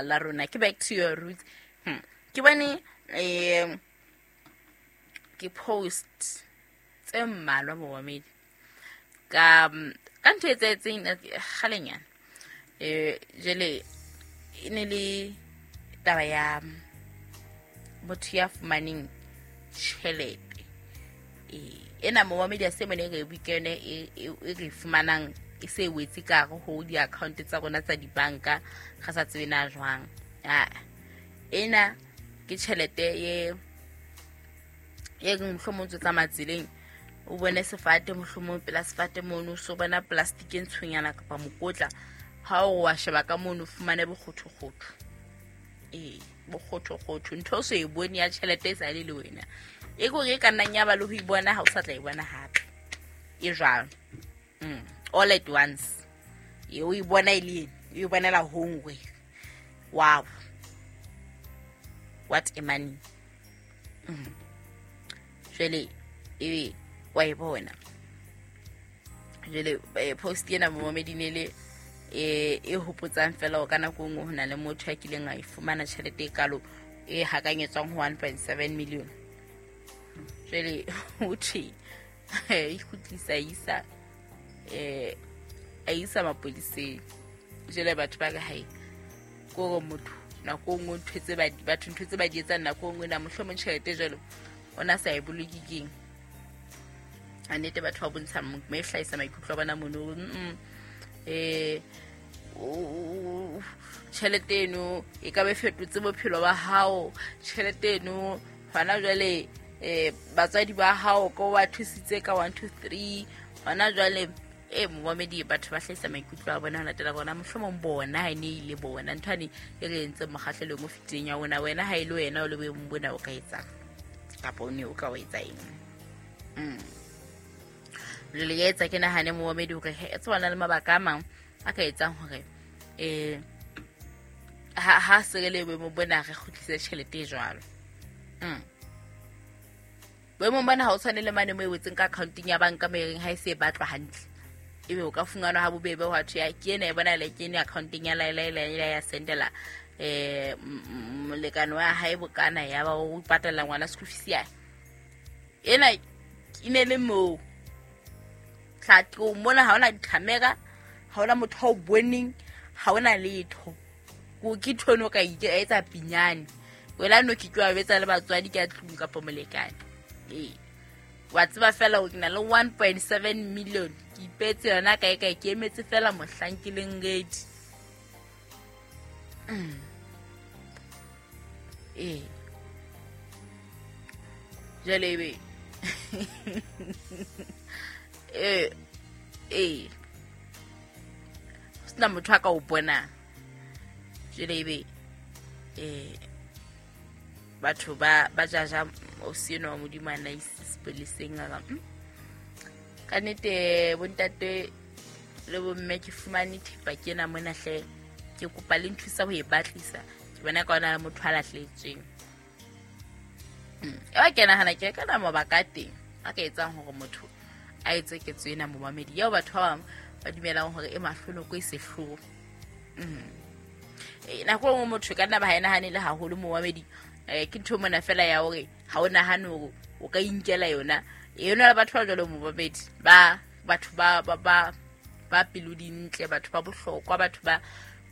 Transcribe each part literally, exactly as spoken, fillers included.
La rona ke back to your roots. hmm. Ke bone um ke post tse mmalwa, momamedi, ka ka ntho e etsahetseng kgalenyana. um jele e ne le taba ya motho ya fumaneng tjhelete ena, momamedi. A se mone re bue yone e re fumanang e se wetse ka hare ho di-account tsa rona tsa dibanka, re sa tsebe na jwang. Ena ke tjhelete e e reng mohlomong ntse tsamaya tseleng, o bone sefate, mohlomong pela sefate mono so bona plastic e ntshonyana kapa mokotla. Ha o wa sheba ka mono, o fumane bokgothokgotho, ee, bokgothokgotho, ntho o so e bone ya tjhelete e sa le le wena, e kore e ka nnang ya ba le ho e bona ha o sa tla e bona hape. E jwalo, mm. all at once e o e bona e le ene, o e bonela hongwe. Wow, what a money! mm. Jwale ebe wa e bona. Jwale post ena, momamedi, ne le e e hopotsang fela ka nako nngwe ho na le motho ya kileng a e fumana tjhelete e kalo e hakanyetswang ho one point seven million. Jwale ho thwe e kgutlisa, isa eh a isa mapoliseng. Jwale batho ba re hae kore motho nako nngwe ntho tse batho ntho tse ba di etsang nako nngwe na mohlomong tjhelete jwalo o na sa e boloke keng. A nnete batho ba bontsha me hlahisa maikutlo a bona mono. eh tjhelete eno e ka be fetotse bophelo ba hao, tjhelete eno hona jwale eh batswadi ba hao ko ba thusitse ka one two three hona jwale. E momamedi, batho ba hlahisa maikutlo a bona ho latela bona mohlomong bona ha e ne ile bona ntho ane e re entseng mokgahlelong o fetileng ya rona. Wena ha e le wena o le boemong bona, o ka etsang kapa o ne o ka o etsa eng? mm. Jwale ya etsa ke nahane, momamedi, hore e tsebana le mabaka a mang a ka etsang hore um ha ha se re le boemong bona re kgutlise tjhelete e jwalo. mm. Boemong bona ha o tshwane le mane mo e wetseng ka accounteng ya banka, mo e reng ha e se e batlwa hantle ebe o ka fumanwa ha bobebe. Hwa thwe ya ke ena e bona ke ene accounteng ya laela ya sendela um molekane wa hae bokana, ya ba o patala ngwana school fees ya ena. E ne le moo tlatong mona, ha hona di-camera, ha hona motho a o boneng, ha hona letho. Ke ntho eno o ka etsa pinyane wena no ke ke wa betsa le batswadi ka tlung kapa molekane. Ee, wa tseba fela ke na le one point seven million, ke ipetse yona kae kae, ke emetse fela mohlang ke leng ready. mm. Ee, jwale ebe ee ee ho sena motho a ka o bonang. Jwale ebe um batho ba ba jaja ausi enwa wa Modimo a na ise sepoleseng. A ka ka nnete, bontate le bomme, ke fumane thepa ke ena mona hle, ke kopa le nthusa ho e batlisa, ke bona ka ona le motho a lahlehetsweng. Eba ke nahana ke ka na mabaka a teng a ka etsang hore motho a etse ketso ena, momamedi, eo batho ba bang ba dumelang hore e mahlonoko, e sehloho. Nako e nngwe motho ka nna ba ha e nahane le haholo, momamedi. um ke ntho mona fela ya hore ha o nahane hore o ka inkela yona yona. Le batho ba jwalo, momamedi, ba batho ba ba ba ba pelo dintle, batho ba bohlokwa, batho ba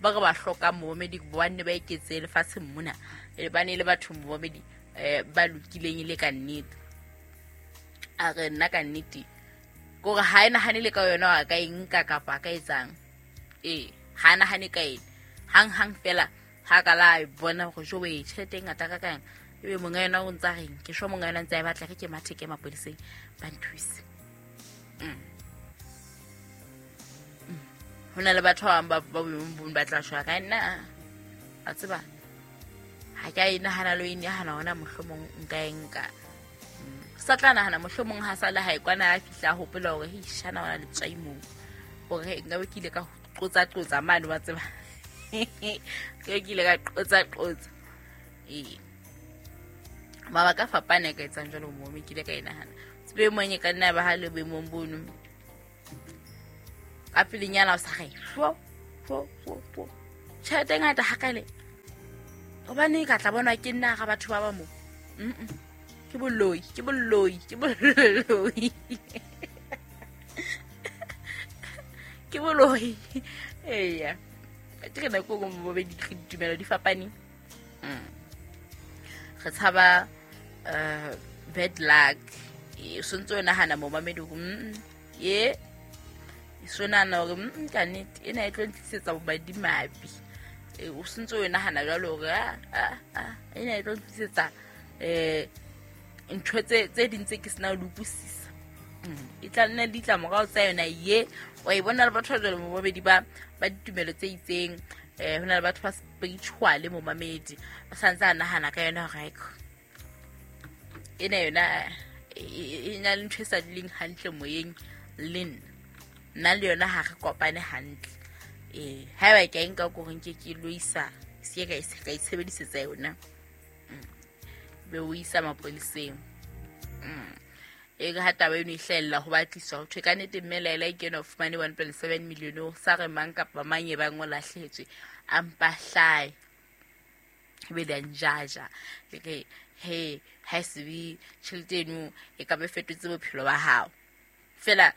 ba re ba hlokang, momamedi, ba nne ba eketse lefatsheng mona, ba ne le batho, momamedi, um ba lokileng e le ka nnete. A re nna ka nnete kore ha e nahane le ka yona a ka e nka kapa a ka etsang. Ee, ha nahane ka ena hang hang fela ha ka la e bona hore jo we tjhelete e ngata ka kang, ebe monga yona o ntsa reng, ke sho monga yona ntse a e batla, re ke mathe ke mapoliseng ba nthuse. mm. Ho na le batho ba bang ba boemong bo ba tla shwa ka nna a tseba ha ke a e nahana le e nahana hona mohlomong nka e nka sa tla nahana mohlomong ha sa le hae kwana, a fihla a hopola hore hei shana ona letswai moo, hore nka be ke ile ka qotsa qotsa mane, wa tseba, ke ke ile ka qotsa qotsa. Ee, mabaka a fapane a ka etsang jwalo mo me ke ile ka e nahana tsebe mong e ka nna ba ha le boemong bono ka pelenyana o sa re fo fo fo fo tjhelete e ngata hakale. Hobane ka tla bona ke nna ga batho ba ba mo. Mm. Ke boloi, ke boloi, ke boloi. Ke boloi. Eya. Ke re nako go mo be ditumelo di fapane. Mm. Re tshaba uh bad luck. E sontso nahana mo mamedi go mm ye sona na hore mm ka nnete ena e tlo ntlisetsa bomadimabe. E o sontso o nahana jwalo hore a a ena e tlo ntlisetsa eh ntho tse tse ding tse ke sena ho utlwisisa. E tla nna le ditlamorao tsa yona ye wa e bona le batho ba jwalo mo babedi ba ba ditumelo tse itseng. Eh hona le batho ba spiritual mo mamedi ba santse a nahana ka yona hore haiko ena yona e na le ntho e sa dileng hantle moyeng le nna nna le yona ha re kopane hantle. Eh haeba ke a nka ko reng ke ke lo isa se ka e ka itshebedisetsa yona be o isa mapoliseng. E re ha taba eno e hlahella ho batliswa ho thwe ka nnete mme Laila e kena o fumane one point seven million o sa re mang kapa mang e bang o lahlehetswe a mpa hlae ebe le a njaja le re he ha se be tjhelete eno e ka be fetotse bophelo ba hao fela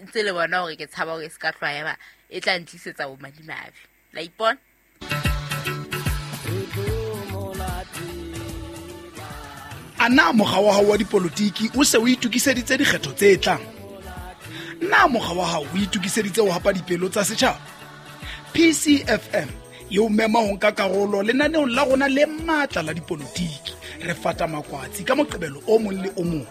ntse le bona hore ke tshaba hore e se ka tloha eba e tla ntlisetsa bomadimabe. La ipona. A na mokga wa hao wa dipolotiki o se o itokiseditse dikgetho tse tlang? Na mokga wa hao o itokiseditse ho hapa dipelo tsa setjhaba? P C F M e o mema ho nka karolo lenaneong la rona le matla la dipolotiki. Re fata makwatsi ka Moqebelo o mong le o mong.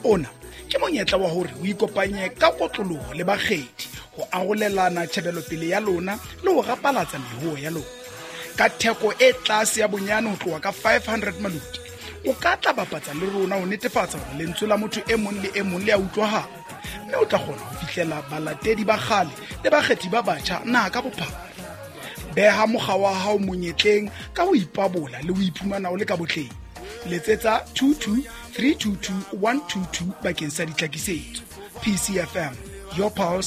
Ona ke monyetla wa hore o ikopanye ka kotloloho le bakgethi ho arolelana tjhebelopele ya lona le ho rapalatsa mehoo ya lona. Ka theko e tlase ya bonyane ho tloha ka five hundred maluti, o ka tla bapatsa le rona ho netefatsa hore lentswe la motho e mong le e mong le a utlwahala, mme o tla kgona ho fihlela balatedi ba kgale le bakgethi ba batjha naha ka bophara. Beha mokga wa hao monyetleng ka ho ipabola le ho iphumana o le ka botleng. Letsetsa two two three two two one two two bakeng sa ditlhakisetso. P C F M, your pulse.